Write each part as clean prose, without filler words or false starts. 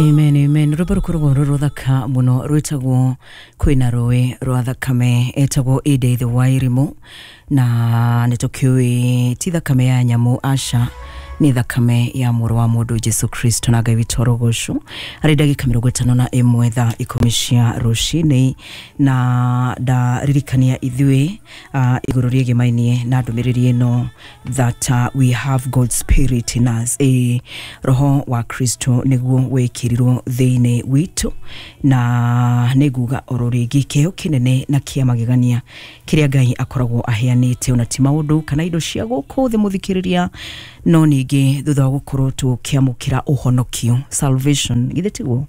Amen, amen. Rwĩmbo rũkoragwo rwĩ rũthaka mũno rwĩtagwo kwĩna rũĩ rwa thakame, etagwo Edith Wairimu, na nĩ tũkĩũĩ ti thakame ya nyamũ, aca, nĩ thakame ya mũrũ wa mũndũ Jesu Kristo, na Ngai witũ arogocwo. Arĩ ndagĩka 51 thaa 10 cia rũcinĩ, na ndaririkania ithuĩ igũrũ rĩegemainie na ndũmĩrĩri ĩno that we have God's spirit in us. Roho wa Kristo nĩguo wĩkĩrirwo thĩinĩ witũ, na nĩ nguga oro rĩngĩ kĩheo kĩnene na kĩa magegania kĩrĩa Ngai akoragwo aheanĩte, ona ti maũndũ kana indo cia gũkũ thĩ, mũthikĩrĩria, no ningĩ thutha wa gũkorwo tũkĩamũkĩra ũhonokio, salvation, githĩ tiguo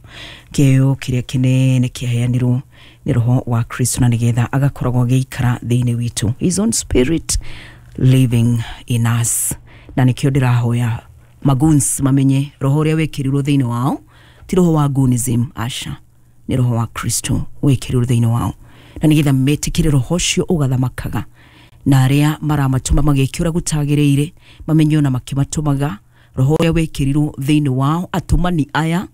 kĩheo kĩrĩa kĩnene kĩaheanirwo nĩ roho wa Kristo, na nĩgetha agakoragwo agĩikara thĩinĩ witũ, his own spirit living in us. Na nĩkĩo ndĩrahoya magoons mamenye roho ũrĩa wĩkĩrirwo thĩinĩ wao ti roho wa goonism, aca, nĩ roho wa Kristo wĩkĩrirwo thĩinĩ wao, na nĩgetha metĩkĩre roho ũcio ũgathamakaga, na arĩa maramatũma magĩke ũrĩa gũtagĩrĩire mamenye ona makĩmatũmaga roho ũrĩa wĩkĩrirwo thĩinĩ wao atũmani aya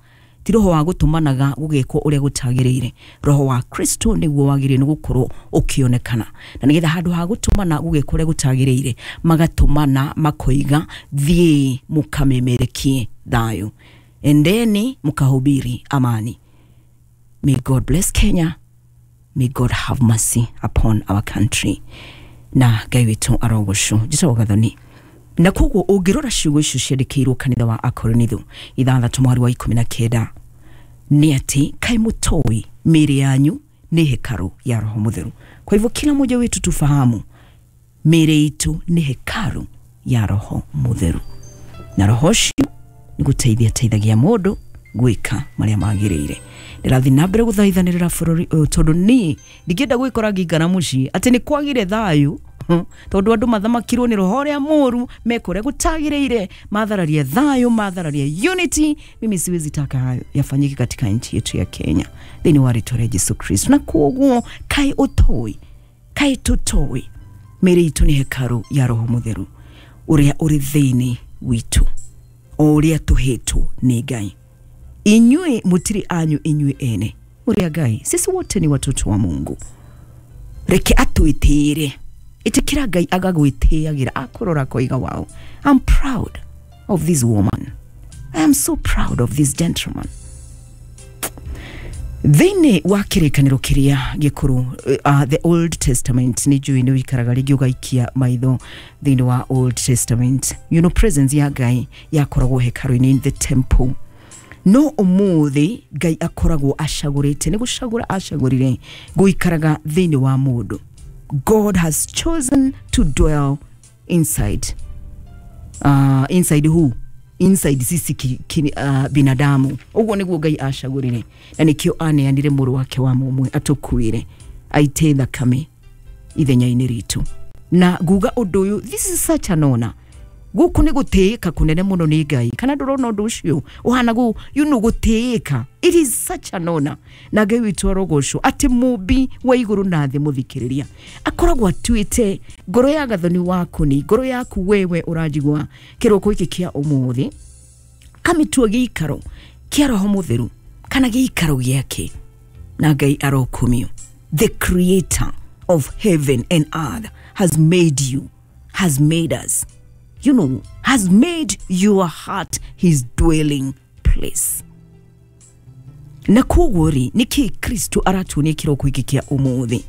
ti roho wa gũtũmanaga gũgĩkwo ũrĩa gũtagĩrĩire. Roho wa Kristo nĩguo wagĩrĩire nĩ gũkorwo ũkĩonekana, na nĩgetha handũ ha gũtũmana gũgĩkwo ũrĩa gũtagĩrĩire, magatũmana makoiga, "Thiĩ mũkamemerekie thayũ, endeni mkahubiri amani." May God bless Kenya. May God have mercy upon our country, na Ngai witũ arogocwo. Njĩtagwo Gathoni, na koguo ũngĩrora ciugo icio ciandĩkĩirwo kanitha wa Akorinitho 6 mweri wa 19, nĩ atĩ kaĩ mũtoĩ mĩĩrĩ yanyu nĩ hekaru ya Roho Mũtheru? Kwa hivyo kila mmoja wetu tufahamu mĩĩrĩ itũ nĩ hekaru ya Roho Mũtheru, na roho ũcio nĩ gũteithia teithagia mũndũ gwĩka marĩa magĩrĩire. Ndĩrathiĩ na mbere gũthaithanĩrĩra bũrũri ũyũ, tondũ niĩ ndingĩenda gwĩkora ngĩikara mũciĩ atĩ nĩ kwagire thayũ, tondũ andũ mathamakirwo nĩ roho ũrĩa mũru, meka ũrĩa gũtagĩrĩire, mathararia thayũ, mathararia unity. Mimi siwezi taka hayo yafanyike katika nchi yetu ya Kenya, thĩinĩ wa rĩtwa rĩa Jesu Kristo. Na koguo kaĩ ũtoĩ, kaĩ tũtoĩ mĩĩrĩ itũ nĩ hekaru ya Roho Mũtheru ũrĩa ũrĩ thĩinĩ witũ, o ũrĩa tũhetwo nĩ Ngai? Inyuĩ mũtirĩ anyu inyuĩ ene, mũrĩ a Ngai. Sisi wote ni watoto wa Mungu. Reke atwĩtĩĩre. Ĩtĩkĩra Ngai agagwĩtĩagĩra, akũrora akoiga, "Wow, I'm proud of this woman. I am so proud of this gentleman." Thĩinĩ wa kĩrĩkanĩro kĩrĩa gĩkũrũ, the Old Testament, nĩ njũĩ nĩ wĩikaraga rĩngĩ ũgaikia maitho thĩinĩ wa Old Testament, presence ya Ngai yakoragwo hekarũ-inĩ, in the temple. No ũmũthĩ Ngai akoragwo acagũrĩte, nĩ gũcagũra acagũrire gũikaraga thĩinĩ wa mũndũ. God has chosen to dwell inside, inside who? Inside sisi binadamu. Ũguo nĩguo Ngai acagũrire, na nĩkĩo aneanire mũrũ wake wa mũmwe atũkuĩre, aite thakame ithenya-inĩ ritũ. Na nguga ũndũ ũyũ, this is such an honor. Gũkũ nĩ gũtĩĩka kũnene mũno nĩ Ngai. Kana ndũrona ũndũ ũcio ũhana gũ gũtĩĩka? It is such an honor, na Ngai witũ arogocwo atĩ mũmbi wa igũrũ na thĩ, mũthikĩrĩria, akoragwo atuĩte ngoro ya Gathoni waku, nĩ ngoro yaku wewe ũranjigua kĩroko gĩkĩ kĩa ũmũthĩ, kamĩtua gĩikaro kĩa Roho Mũtheru kana gĩikaro gĩake, na Ngai arokumio. The creator of heaven and earth has made you, has made us, has made your heart his dwelling place. Na koguo rĩ, nĩkĩ Kristo aratuonia kĩroko gĩkĩ kĩa ũmũthĩ?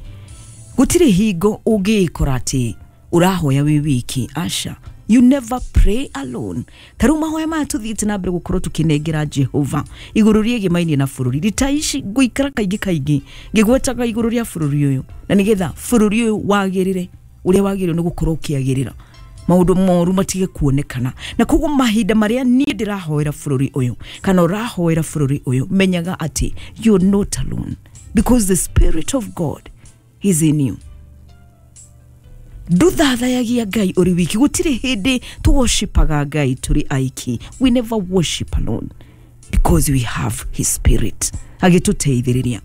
Gũtirĩ hingo ũngĩĩkora atĩ ũrahoya wĩ wiki, aca. You never pray alone. Ta rĩu mahoya maya tũthiĩte na mbere gũkorwo tũkĩnengera Jehova igũrũ rĩegemainie na bũrũri, rita ici ngũikara kaingĩ kaingĩ ngĩgwetaga igũrũ rĩa bũrũri ũyũ, na nĩgetha bũrũri ũyũ wagĩrĩre ũrĩa wagĩrĩirwo nĩ gũkorwo ũkĩagĩrĩra, maũndũ moru matige kuonekana. Na koguo mahinda marĩa niĩ ndĩrahoera bũrũri ũyũ kana ũrahoera bũrũri ũyũ, menyaga atĩ you're not alone, because the spirit of God is in you. Nduthathayagia Ngai ũrĩ wiki. Gũtirĩ hĩndĩ tũworshipaga Ngai tũrĩ aiki. We never worship alone, because we have his spirit agĩtũteithĩrĩria.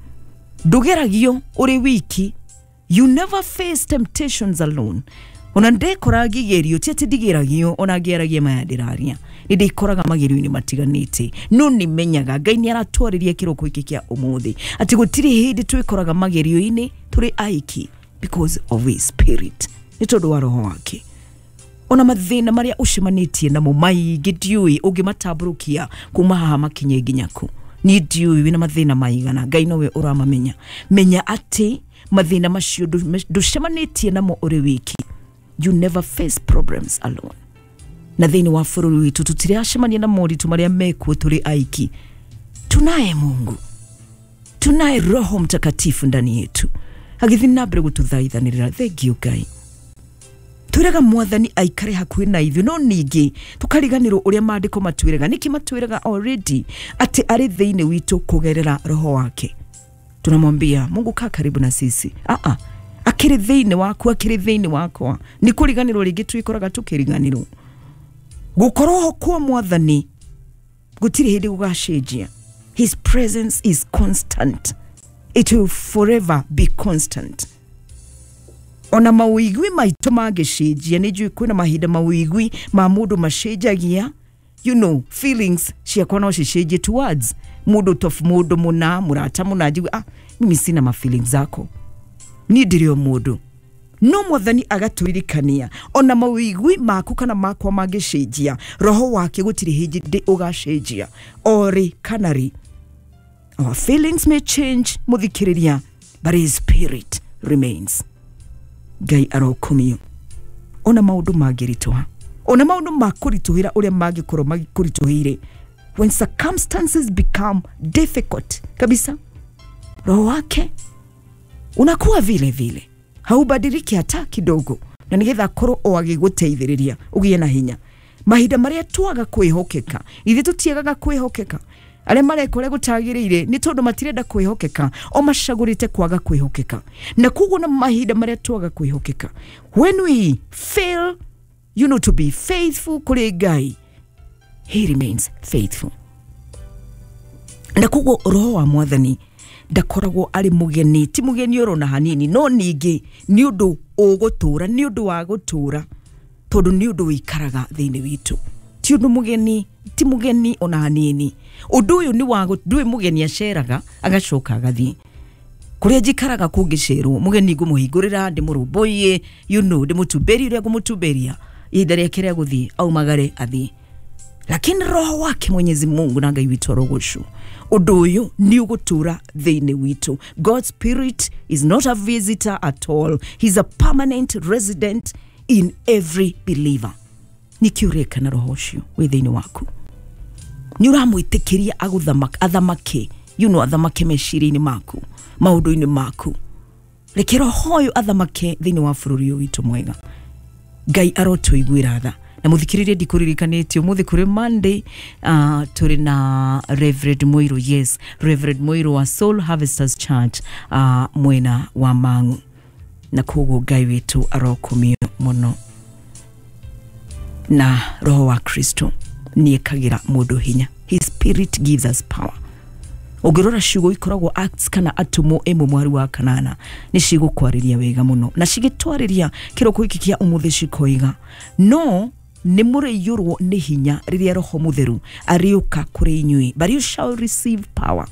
Ndũgeragio ũrĩ wiki. You never face temptations alone. Ona ndekora ngĩgerio, ti atĩ ndigĩragio, ona ngĩaragia maya ndĩraria, nĩ ndĩkoraga magerio-inĩ matiganĩte, no nĩ menyaga Ngai nĩ aratwarĩria kĩroko gĩkĩ kĩa ũmũthĩ atĩ gũtirĩ hĩndĩ twĩkoraga magerio-inĩ tũrĩ aiki, because of his spirit, nĩ tondũ wa roho wake. Ona mathĩna marĩa ũcemanĩtie namo maingĩ, ndiũĩ ũngĩmatambũrũkia kuma haha makinye nginya kũ, niĩ ndiũĩ wĩna mathĩna maigana, Ngai nowe ũramamenya. Menya atĩ mathĩna macio ndũcemanĩtie namo ũrĩ wiki. You never face problems alone. Na thĩinĩ wa bũrũri witũ tũtiracemania na moritũ marĩa mekuo tũrĩ aiki. Tunaye Mungu, tunaye Roho Mtakatifu ndani yetu agĩthiĩ na mbere gũtũthaithanĩrĩra. Thengiũ Ngai. Twĩraga Mwathani aikare hakuhĩ na ithuĩ, no ningĩ tũkariganĩrwo ũrĩa maandĩko matwĩraga. Nĩkĩ matwĩraga already atĩ arĩ thĩinĩ witũ kũgerera roho wake? Tunamwambia Mungu, kaa karibu na sisi. Aa, akĩrĩ thĩinĩ waku, akĩrĩ thĩinĩ wakwa. Nĩ kũriganĩrwo rĩngĩ twĩkoraga tũkĩriganĩrwo. Gũkorwo ho kwa Mwathani gũtirĩ hĩndĩ gũgacenjia. His presence is constant, it will forever be constant. Ona mawĩigwi maitũ mangĩcenjia, nĩ njũĩ kwĩna mahinda mawĩigwi ma mũndũ macenjagia. Feelings ciakwa no cicenjie towards mũndũ tof mũndũ mũna, mũrata mũna, njigue, ah, mimi sina ma feelings zako, niĩ ndĩrĩ o mũndũ. No Mwathani agatũririkania ona mawĩigwi maku kana makwa mangĩcenjia, roho wake gũtirĩ hĩndĩ ũgacenjia, orĩ kana rĩ. Our feelings may change, mũthikĩrĩria, but his spirit remains. Ngai arokumio. Ona maũndũ mangĩritũha, ona maũndũ makũritũhĩra ũrĩa mangĩkorwo makũritũhĩire, when circumstances become difficult kabisa, roho wake unakuwa vile vile, haubadiliki hata kidogo, na nĩgetha akorwo o agĩgũteithĩrĩria ũgĩe na hinya mahinda marĩa twaga kwĩhokeka. Ithuĩ tũtiagaga kwĩhokeka. Arĩa mareka ũrĩa gũtagĩrĩire nĩ tondũ matirenda kwĩhokeka, o macagũrĩte kwaga kwĩhokeka. Na koguo na mahinda marĩa twaga kwĩhokeka, when we fail to be faithful kũrĩ Ngai, he remains faithful. Na koguo roho wa Mwathani ndakoragwo arĩ mũgeni, ti mũgeni oro na hanini, no ningĩ nĩ ũndũ ũgũtũra, nĩ ũndũ wa gũtũra, tondũ nĩ ũndũ wĩikaraga thĩinĩ witũ. Ti ũndũ mũgeni, ti mũgeni ona hanini. Ũndũ ũyũ nĩ wa ndũĩ mũgeni aceraga agacoka agathiĩ. Kũrĩa njikaraga kũngĩcerwo, mũgeni ngũmũhingũrĩra, ndĩmũrũmbũiye, ndĩmũtumberie ũrĩa ngũmũtumberia, ihinda rĩake rĩa gũthiĩ aumagare athiĩ. Lakini roho wake Mwenyezi Mungu na Ngai witũ arogocwo, ũndũ ũyũ nĩ ũgũtũra thĩinĩ witũ. God's spirit is not a visitor at all, he's a permanent resident in every believer. Nĩkĩ ũreka na roho ũcio wĩ thĩinĩ waku? Nĩ ũramwĩtĩkĩria athamake, athamake meciria-inĩ maku, maũndũ-inĩ maku. Reke roho ũyũ athamake thĩinĩ wa bũrũri ũyũ witũ mwega. Ngai arotũiguĩra tha. Na mũthikĩrĩrie, ndikũririkanĩtie ũmũthĩ kũrĩ Monday, tũrĩ na Reverend Muiru, yes, Reverend Muiru wa Soul Harvesters Church, mwena wa Mang'u. Na koguo Ngai witũ arokumio mũno. Na roho wa Kristo nĩekagĩra mũndũ hinya. His spirit gives us power. Ũngĩrora ciugo ikoragwo Acts kana Atũmwo 1:8, nĩ cigũkwarĩria wega mũno, na cigĩtwarĩria kĩroko gĩkĩ kĩa ũmũthĩ cikoiga, no nĩ mũrĩiyũrwo nĩ hinya rĩrĩa Roho Mũtheru arĩũka kũrĩ inyuĩ. But you shall receive power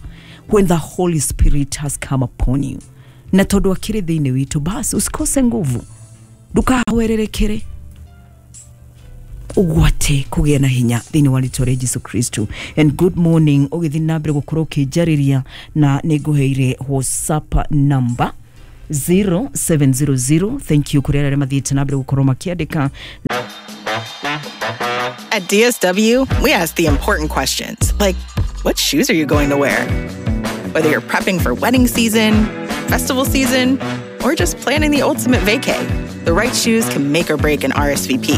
when the Holy Spirit has come upon you. Na tondũ akĩrĩ thĩinĩ witũ, basi usikose nguvu, ndũkahwererekere, ũgwate kũgĩa na hinya thĩinĩ wa rĩtwa rĩa Jesu Kristo. And good morning, ũgĩthiĩ na mbere gũkorwo ũkĩnjarĩria, na nĩ ngũheire WhatsApp number 0700. Thank you kũrĩ arĩa mathiĩte na mbere gũkorwo makĩandĩka. At DSW, we ask the important questions, like, what shoes are you going to wear? Whether you're prepping for wedding season, festival season, or just planning the ultimate vacay, the right shoes can make or break an RSVP.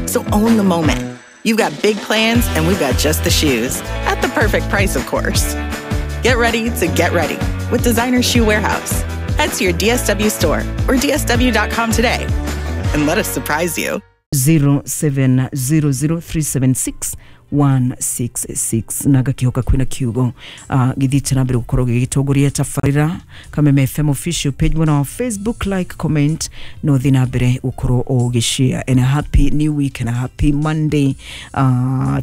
So own the moment. You've got big plans, and we've got just the shoes. At the perfect price, of course. Get ready to get ready with Designer Shoe Warehouse. Head to your DSW store or DSW.com today and let us surprise you. 0700 376 166. Na ngakihoka kwina kiugo githiĩte na mbere gũkorwo gĩgĩtongoria tabarĩra. Kameme FM official page mwena wa Facebook, like, comment, no thiĩ na mbere gũkorwo ũgĩshare. And a happy new week and a happy Monday.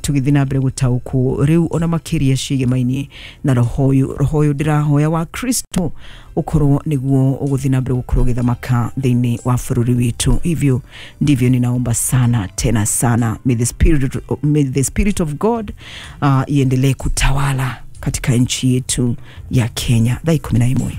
Tũgĩthiĩ na mbere gũtaũkwo rĩu ona makĩria ciĩgemaini na roho ũyũ, roho ũyũ ndĩrahoya wa Kristo ukorwo niguo ũgũthiĩ na mbere gũkorwo ũgĩthamaka thĩinĩ wa bũrũri witũ. Hivyo ndivyo ninaomba sana tena sana, may the spirit of God iendelee kutawala katika nchi yetu ya Kenya. Thaa 11.